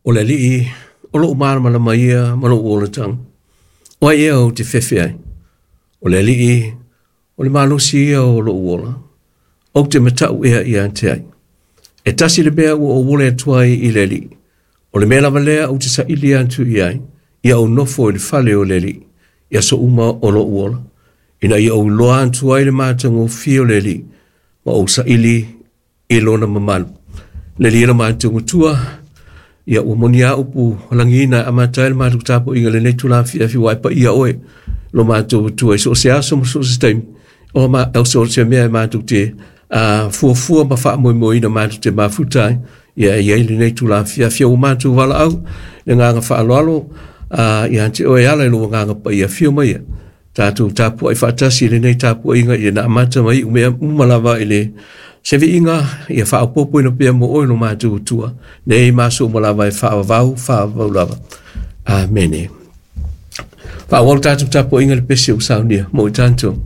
O le Alii o lou malamalama ia ma lou olataga. O ai ea ou te fefe ai? O le Alii o le malosi ia o lou ola. Ou te matau ea ia te ai. E tasi le mea ua ou ole atu ai i le Alii. O le mea lava lea ou te saili atu i ai, ia ou nofo i le fale o le Alii, i aso uma o lou ola, ina ia ou iloa atu ai le matagofie o le Alii, ma ou saili i lona mamalu. Le Alii e lo matou Matua, ia ua moni a upu lagiina e amata ai le matou tapuaiga i lenei itula afiafi ua e paia oe lo matou Atua i so o se aso ma so o se taimi, o ma o so o se mea e matou te fuafua ma faamoemoeina matou te mafuta ai, ia e i ai lenei itula afiafi ua matou valaau le agaga faaaloalo ia te oe e ala i lou Agaga Paia. Afio mai ia tatou tapuai faatasi i lenei tapuaiga ia na amata mai iu mea uma lava i le se viiga ia faaopoopoina pea mo oe lo matou Atua nei ma aso uma lava e faavavau faavavau lava. Amene. Faaauau le tatou tapuaiga i le pese ua saunia mo i tatou.